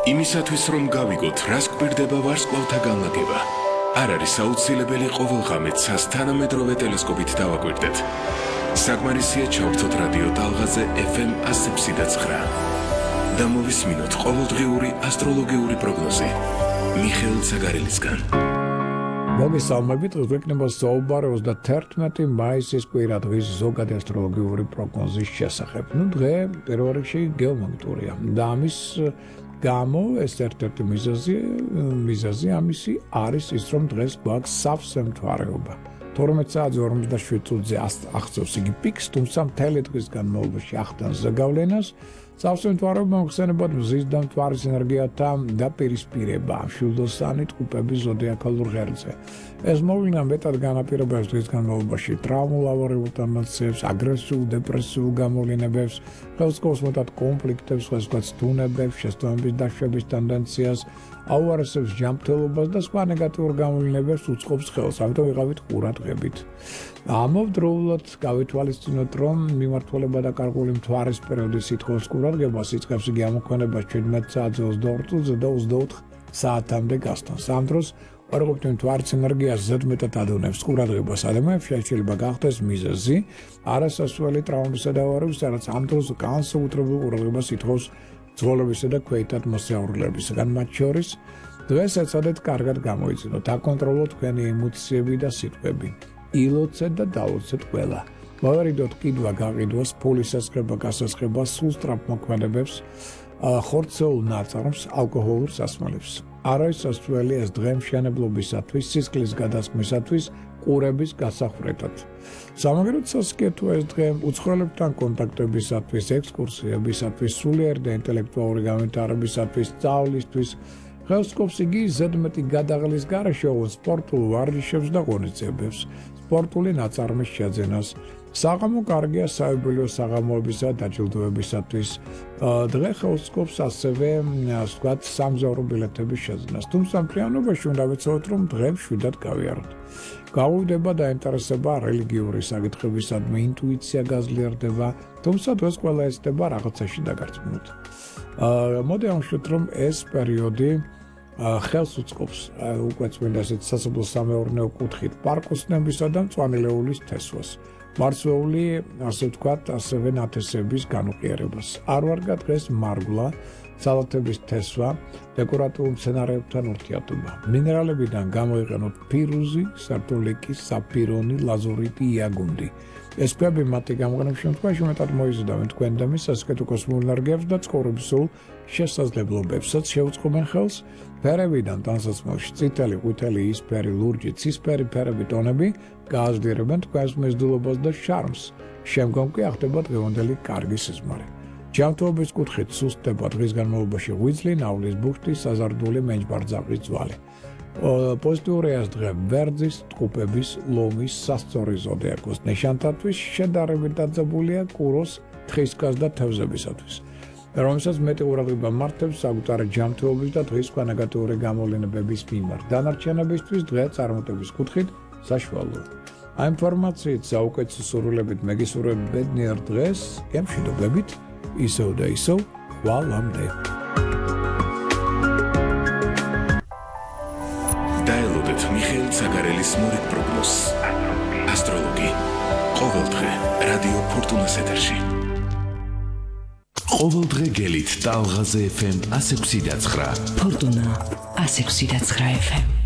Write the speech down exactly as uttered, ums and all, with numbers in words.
იმისათვის რომ გავიგოთ, რას გვერდება ვარსკვლავთა განლაგება, არ არის აუცილებელი ყოველ ღამეც თანამედროვე ტელესკოპით დავაკვირდეთ. საკმარისია ჩავრთოთ რადიო ტალღაზე ეფ ემ one oh seven point nine და მოვისმინოთ ყოველდღიური ასტროლოგიური პროგნოზი მიხეილ ცაგარელისგან. მოგესალმებით, გვექნება საუბარი ოცდათერთმეტი მაისის კვირა დღის ზოგადი ასტროლოგიური პროგნოზის შესახებ. ნუ დღე პირველ რიგში გეომაგნიტურია და ამის გამო ეს ერთ-ერთი მიზეზი მიზეზი ამისი არის ის, რომ დღეს გვაქვს სავსე მთვარეობა. თორმეტ საათზე ორმოცდაშვიდ წუთზე აღწევს იგი პიკს, თუმცა მთელი დღის განმავლობაში ახდენს ზეგავლენას. სავსე მთვარეობა მოხსენებად მზის და მთვარის ენერგიათა დაპირისპირება მშვილდოსანი ტყუპების ზოდიაქალურ ღერძზე. ეს მოვლენა მეტად განაპირობებს დღის განმავლობაში ტრავმულ ავარიულ ტენდენციებს, აგრესიულ, დეპრესიულ გამოვლენებებს, ხელსკობს მეტად კონფლიქტებს, სხვადასხვა სტუნებებს, შეცდომების დაშვების ტენდენციას, აუარესებს ჯანმრთელობას და სხვა ნეგატიურ გამოვლენებებს უწყობს ხელს. ამიტომ ვიყავით ყურადღებით. ამავდროულად გავითვალისწინოთ, რომ მიმართულება და კარგული მთვარის პერიოდის სითხოვს ყურადღებას იწყებს იგი ამოქმედებას ჩვიდმეტ საათზე ოცდაორ წუთზე და ოცდაოთხ საათამდე გასტანს. ამ დროს ვარყოფით მთვარის ენერგიას ზედმეტად ადევნებს ყურადღებას ადამიანებს, შეიძლება გახდეს მიზეზი არასასვლელი ტრავმებისა და ავარიების, რაც ამ დროს განსაკუთრებულ ყურადღებას ითხოვს ძღოლებისა და ქვეითად მოსიარულეებისგან. მათ შორის დღეს ეცადეთ კარგად გამოიძინოთ, აკონტროლოთ თქვენი ემოციები და სიტყვები. ილოცეთ და დაუცეთ ყველა. მოვერიდოთ კიდვა გაყიდვას, ფულის ესხება, გასესხება, სულ სწრაფ მოქმედებებს, ხორცეულ ნაწარმს, ალკოჰოლურ სასმელებს. არ არის სასწრაფო ეს დღე მშენებლობისათვის, სისხლის გადასხმისათვის, ყურების გასახვრეტად. სამაგეროდ სასკეთოა ეს დღე უცხოელებთან კონტაქტებისათვის, ექსკურსიებისათვის, სულიერ და ინტელექტუალური განვითარებისათვის, სწავლისთვის. ხელსკობს იგი ზედმეტი გადაღლის გარეშე სპორტულ ვარჯიშებს და ღონისძიებებს, სპორტული ნაწარმის შეძენას. საღამო კარგია საიუბილეო საღამოებისა და დაჯილდოებისათვის. დღე ხელსკობს ასევე ვთქვათ სამგზავრო ბილეთების შეძენას. თუმცა მთლიანობაში უნდა ვიცოდეთ, რომ დღე მშვიდად გავიაროთ. გაუვიდება დაინტერესება რელიგიური საკითხებისადმი, ინტუიცია გაზლიერდება, თუმცა დღეს ყველა ეცდება რაღაცაში დაგარწმუნოთ. მოდი ამშვიდეთ, რომ ეს პერიოდი ხელს უწყობს უკვე წმინდა ესეთ სასოფლო-სამეურნეო კუთხით პარკოსნებისა და მწვანილეულის თესვას. მარცვლეული, ასე ვთქვათ, ასევე ნათესების განუყიერებას. არ ვარგა დღეს მარგვლა, სალათების თესვა, დეკორატიულ მცენარეებთან ურთიერთობა. მინერალებიდან გამოიყენოთ ფირუზი, სარტულიკი, საფირონი, ლაზურიტი, იაგუნდი. ეს ქვები მათი გამოყენების შემთხვევაში მეტად მოიზიდავენ თქვენ და მის სასკეთო კოსმოსურ ენერგიებს და ცხოვრებისულ შესაძლებლობებსაც შეუწყობენ ხელს. ფერებიდან ტანსაცმელში წითელი, ყვითელი, იისფერი, ლურჯი, ცისფერი ფერები ტონები გააზრდიერებენ თქვენს მიზიდულობას და შარმს. შემდგომ კი ახდება დღევანდელი კარგი სიზმარი. ჯანმრთელობის კუთხით სუსტდება დღის განმავლობაში ღვიძლი, ნავლის ბუხტი, საზარდული მენჯბარძაღვის ძვალი. პოზიტიური ეს დღე ვერძის, ტყუპების, ლომის, სასწორი ზოდიაქოს ნიშანთათვის შედარებით დაძაბულია კუროს, თხისკას და თევზებისათვის. რომელსაც მეტი ყურადღება მართებს საკუთარი ჯანმრთელობის და დღის სხვა ნეგატიური გამოვლენებების მიმართ. დანარჩენებისთვის დღე წარმატების კუთხით საშუალოა. ამ ინფორმაციით საუკეთესო სურვილებით მეგისურვებ ბედნიერ დღეს, გემშვიდობებით, ისევ და ისევ ხვალამდე. დაელოდეთ მიხეილ ცაგარელის მორიგ პროგნოზს. ასტროლოგი. ყოველდღე რადიო ფორტუნას ეთერში. ყოველდღე გელით ტალღაზე ეფ ემ one oh six point nine. ფორტუნა one oh six point nine ეფ ემ.